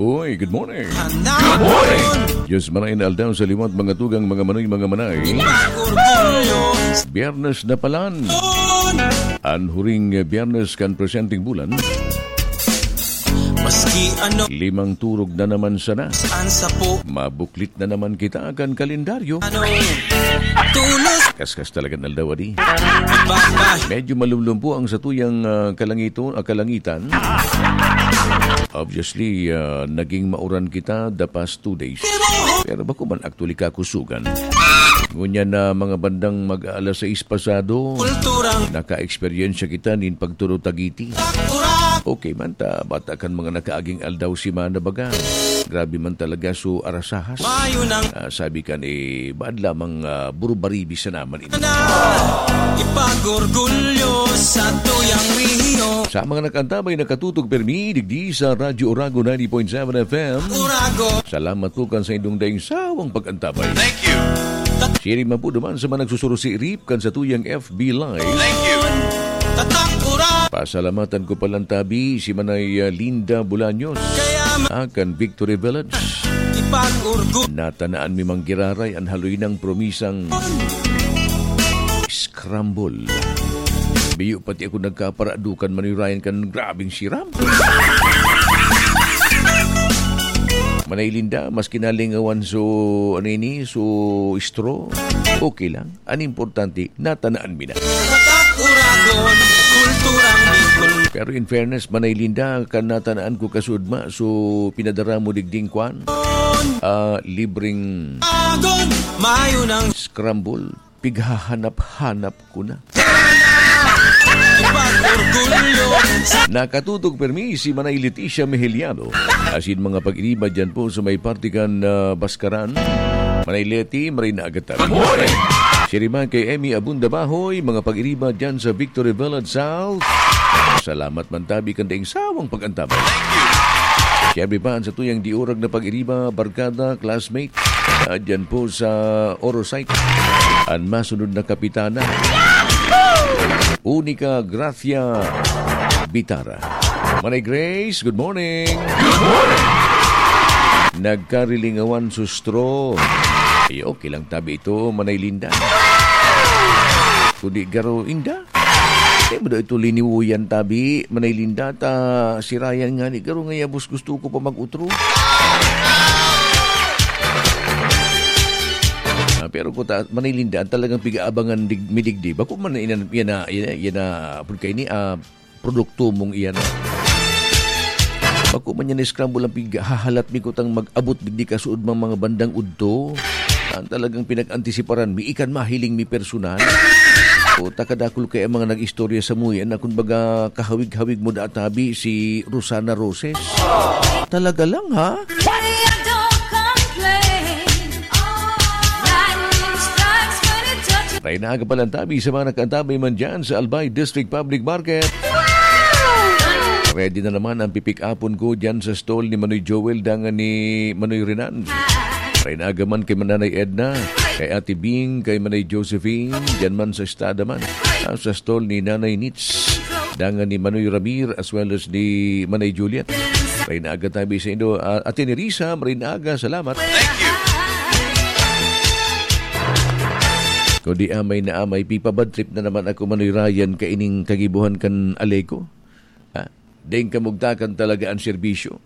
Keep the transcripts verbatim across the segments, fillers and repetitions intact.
Uy, good morning. Good morning. Diyos marahay na aldaw sa liwat, mga tugang, mga manoy, mga manay. Orgulyo. Biyernes na palan. An huring Biyernes kan presenteng bulan. Maski ano. Limang turog na naman sana. Saan sa po? Mabuklit na naman kita kan kalendaryo. Ano? Tulos. Kaskas talaga ng aldaw, adi. Baba. Medyo malumlum po ang satuyang, ah, kalangito-, ah, kalangitan. Obviously, ah, naging mauran kita the past two days. Pero bako man actually kakusugan. Ngunyan na mga bandang mag-aalas sais pasado, Kulturang naka-eksperyensya kita nin pagturo Tagiti. Takura. Okay man ta, bata kan mga nakaaging aldaw si Mana baga. Grabe man talaga so arasahas. Mayo nang Ah, sabi kan, eh, baad lamang, ah, burubaribi sa naman ito. Na ipag-orgulyo sa tuyang rehiyon. Sa mga nag-antabay, nakatutok permi, digdi sa Radyo Oragon ninety point seven F M. Oragon. Salamat po kan sa indong daing sawang pag-antabay. Thank you. Siring man po duman sa mga nagsusurusirip kan sa tuyang F B Live. Thank you. Tatak Oragon. Pasalamatan ko palang tabi si Manay, ah, Linda Bolaños, Kaya ma- ah, kan Victory Village. Ipag-orgulyo. Natanaan mi manggiraray an haloy nang promisang scramble. Biyo pati ako nagkaparadukan manirayan kan grabing siram. Manay Linda, maski nalingawan so, ano ini, so straw, okay lang. An importante, natanaan mi na. Tatak Oragon, kulturang Bicol. Pero in fairness, Manay Linda, kan natanaan ko kasudma, so pinadara mo digding kwan? Ah, libreng Agon, mayo nang scramble. Pighahanap-hanap ko na. Ipag-orgulyo. Nakatutok permi si Manay Leticia Mejeliano. Asin mga pag-iriba dyan po sa may parte kan, ah, Baskaran. Manay Leti, maray na agad tayo. Good morning! Siring man kay Emmy Abunda Bahoy, mga pag-iriba dyan sa Victory Village South. Salamat man tabi kan daing sawang pag-antabay. Siyempre pa, sa tuyang diurag na pag-iriba, barkada, classmate, ah, dyan po sa Orosite. An masunod na kapitana, Unica Gracia Bitara. Manay Grace, good morning. Good morning. Nagkarilingawan sustro. Ay, okay lang tabi ito, Manay Linda. Kundi garo inda. Di mo daw ito liniwuyan tabi, Manay Linda, ta si Ryan nga ni garo nga yabos gusto ko pa mag-utro. Ah, pero ko ta, Manay Linda, ang talagang pig-aabangan dig-, midigdi. Bako man na inan-, yan na, yan na, yan na, apod kayo ni, ah, produkto mong iyan. Bako man yan na scramble ang pig-, hahalat mi kutang mag-abot digdi kasuod mang mga bandang udto. Ang talagang pinag-antisiparan mi, ikan mahiling mi personal. O, takadakul kaya mga nag-istorya sa muyan na, kumbaga, kahawig-hawig mo da tabi si Rosana Roses. Talaga lang, ha? Raynaga palang tabi sa mga nakaantabay man dyan sa Albay District Public Market. Ready na naman ang pipick-upon ko dyan sa stall ni Manoy Joel dangan ni Manoy Renan. Raynaga man kay Mananay Edna, kay Ate Bing, kay Manay Josephine, dyan man sa Estada man. Ah, sa stall ni Nanay Nits, dangan ni Manoy Ramir, as well as ni Manay Juliet. Raynaga tabi sa indo, ah, Ate Nerissa, raynaga, salamat. Thank you. Kundi amay na amay, pipabad trip na naman ako, Manoy Ryan, kaining kagibuhan kan Aleco. Ha? Deng kamugtakan talaga ang serbisyo.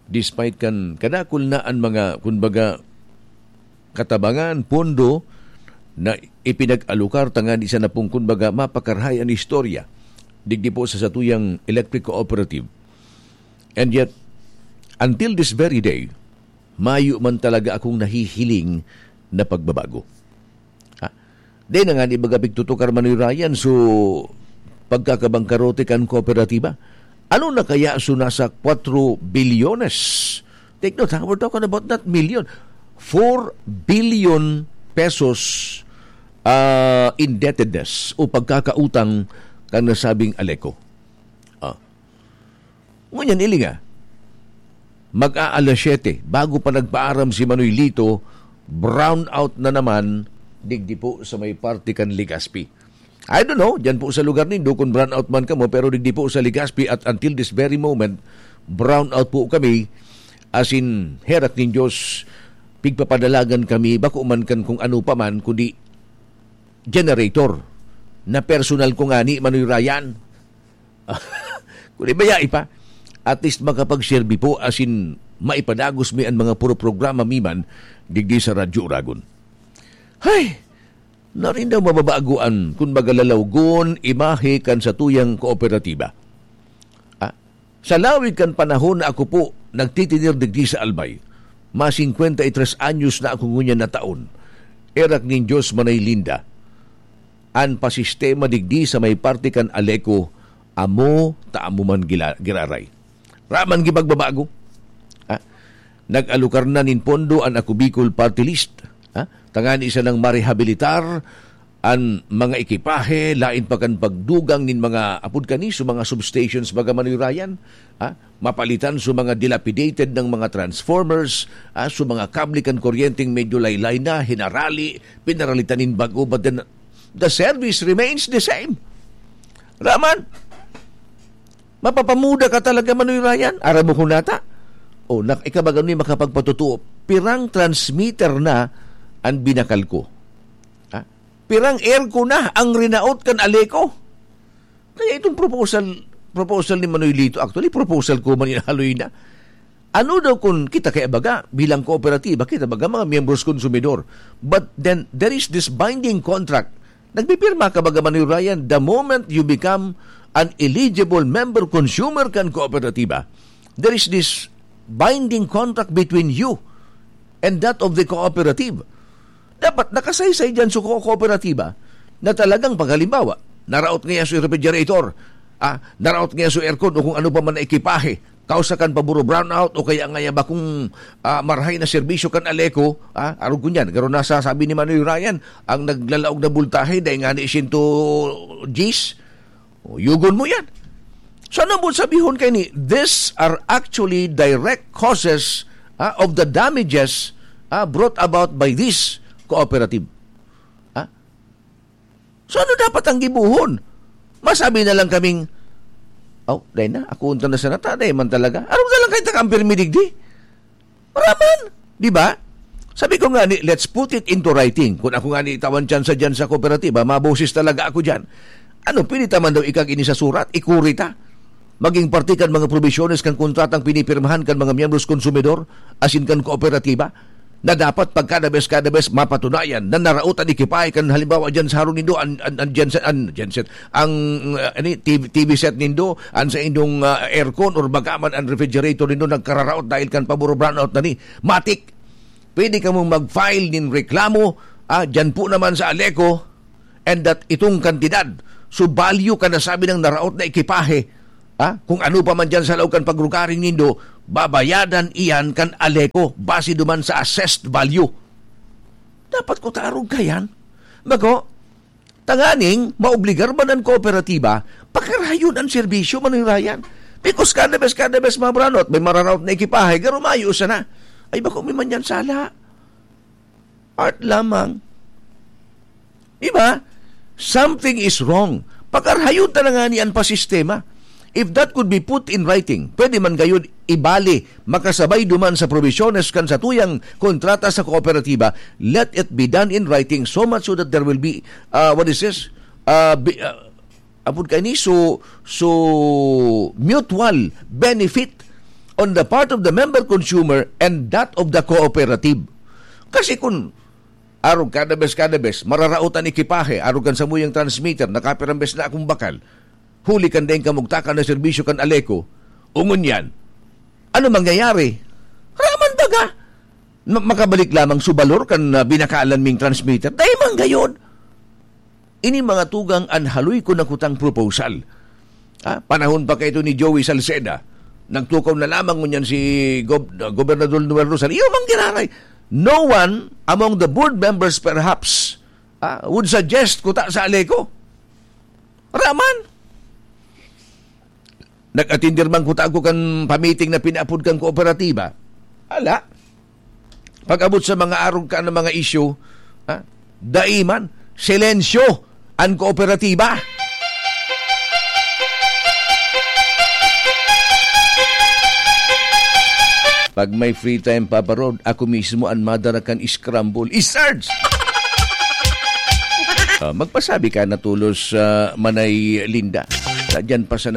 Despite kan kadakul na an mga, kumbaga, katabangan, pondo na ipinag-alokar tangani sa napong, kumbaga, mapakarahay an istorya digdi po sa satuyang electric cooperative. And yet, until this very day, mayo man talaga akong nahihiling na pagbabago. Ha? Di na nga ni baga pigtutukar, Manoy Ryan, so pagkakabangkarote kan kooperatiba. Ano na kaya so nasa kwatro bilyones? Take note, ha? We're talking about not million. Four billion pesos, ah, indebtedness o pagkakautang kan nasabing Aleco. Ah. Ngunyan, ilinga, mag-aalas siyete, bago pa nagpaaram si Manoy Lito, brown out na naman digdi po sa may parte kan Legazpi. I don't know, dyan po sa lugar nindo kung brown out man kamo, pero digdi po sa Legazpi at until this very moment, brown out po kami Asin, herak nin Dios, pigpapadalagan kami, bako man kan kung ano pa man, kundi generator na personal ko ngani, Manoy Ryan. Kun ibaya pa, at least makapagserbi po, asin maipadagos mi an mga puro programa mi man digdi sa Radyo Oragon. Hay! Narin daw mababagoan kun baga lalawgon imahe kan satuyang kooperatiba. Ah, sa lawig kan panahon na ako po nagtitinir digdi sa Albay, ma singkwenta y tres anyos na ako ngunyan na taon. Erak nin Dios manay linda. An pasistema digdi sa may parte kan Aleco, amo ta amo man gila-, giraray. Raman gipagbabago. Ha? Nag-alokar na nin pondo an Ako Bicol Party List. Ha? Tangani sanang marehabilitar an mga ekipahe, lain pa kan pagdugang nin mga apod kani, so mga substations, baga Manoy Ryan. Ha? Mapalitan so mga dilapidated ng mga transformers, ha? So mga kable kan kuryenteng medyo laylay na, hinarali, pinaralitan nin bago, but then the service remains the same. Raman, mapapamuda ka talaga, Manoy Ryan. Aram mo kung nata? O, nak-, ikabaga ni makapagpatotoo. Pirang transmitter na an binakal ko? Ha? Pirang aircon na ang rinaot kan Aleco? Kaya itong proposal, proposal ni Manoy Lito, actually, proposal ko man inahaloy na. Ano daw kun kita kaya baga, bilang kooperatiba, kita baga mga miyembros konsumidor. But then, there is this binding contract. Nagpipirma ka baga, Manoy Ryan, the moment you become an eligible member consumer kan kooperatiba, there is this binding contract between you and that of the cooperative. Dapat nakasaysay diyan so ko-, kooperatiba na talagang pag halimbawa, naraot ngaya so refrigerator, ah, naraot ngaya so aircon o kung ano pa man na ekipahe, kausa kan paburo brownout o kaya ngaya bakong, ah, marahay na serbisyo kan Aleco, ah, arog ko niyan, garo na sa sabi ni Manoy Ryan, ang naglalaog na bultahe, dahil nga ni siyento diyes, o, yugon mo yan. So, ano mo sabihon kay ni? These are actually direct causes, ah, of the damages, ah, brought about by this cooperative. Ah? So, ano dapat ang gibuhon? Masabi na lang kaming, "Aw, dai na, ako unta na sana ta, dai man talaga." Ano na lang kayo takang pirmi digdi? Raman, di ba? Sabi ko nga ni, let's put it into writing. Kung ako nga ni itawan tsansa dyan sa kooperatiba, maboses talaga ako dyan. Ano, pwede ta man daw ikag ini sa surat, ikuri ta? Maging parte kan mga probisyones kan kontratang pinipirmahan kan mga miyembros konsumidor, asin kan kooperatiba, na dapat pagkada bes, kada bes mapatunayan na naraot an ekipahe kan halimbawa dyan sa harong nindo, an, an, an genset, an genset, ang, uh, ani, T V, T V set nindo, an sa indong, uh, aircon or bagaman an refrigerator nindo nagkararaot dahil kan paburo brownout na ni. Matik, pwede kamong mag-file nin reklamo, ah, dyan po naman sa Aleco, and that itong kantidad, so value ka na sabi ng naraot na ekipahe, ah, kung ano pa man dyan sa laog kan pagrugaring nindo, babayadan iyan kan Aleco base duman sa assessed value. Dapat ko tarog ka yan. Bako, tanganing maobligar man an kooperatiba, pakarayon an serbisyo, Manoy Ryan. Because kada bes, kada bes mabrownout, may mararaot na ekipahe, garo mayo sana. Ay, bako may man yan sala. Art lamang. Di ba? Something is wrong. Pakarayon ta na nga ni an pasistema. If that could be put in writing, pwede man gayud ibali, makasabay duman sa probisyones kan satuyang kontrata sa kooperatiba, let it be done in writing so much so that there will be, uh, what is this? Uh, be, uh, apod kaini, so, so mutual benefit on the part of the member consumer and that of the cooperative. Kasi kung arog kada bes, kada bes, mararaot an ekipahe, arog kan samuyang transmitter, nakapirang bes na akong bakal, huli kan daing kamugtakan na serbisyo kan Aleco, o ngunyan, ano mangyayari? Raman baga, ma-, makabalik lamang su balor kan, ah, binakalan ming transmitter? Dai man gayon. Ini mga tugang an haloy ko na kutang proposal. Ah, panahon pa kaito ni Joey Salceda. Nagtukaw na lamang ngunyan si Gob-, Gobernador Noel Rosal. Iyo mang giraray. No one among the board members perhaps, ah, would suggest kuta sa Aleco. Raman. Nag-atindir man kuta ako kan pamiting na pinaapod kan kooperatiba. Ala. Pag-abot sa mga arog ka na mga isyu, ha? Dai man, silensyo an kooperatiba. Pag may free time, Papa Rod, ako mismo an madara kan scramble. I-search! Ah, magpasabi ka na tolos sa Manay Linda. Diyan pa sa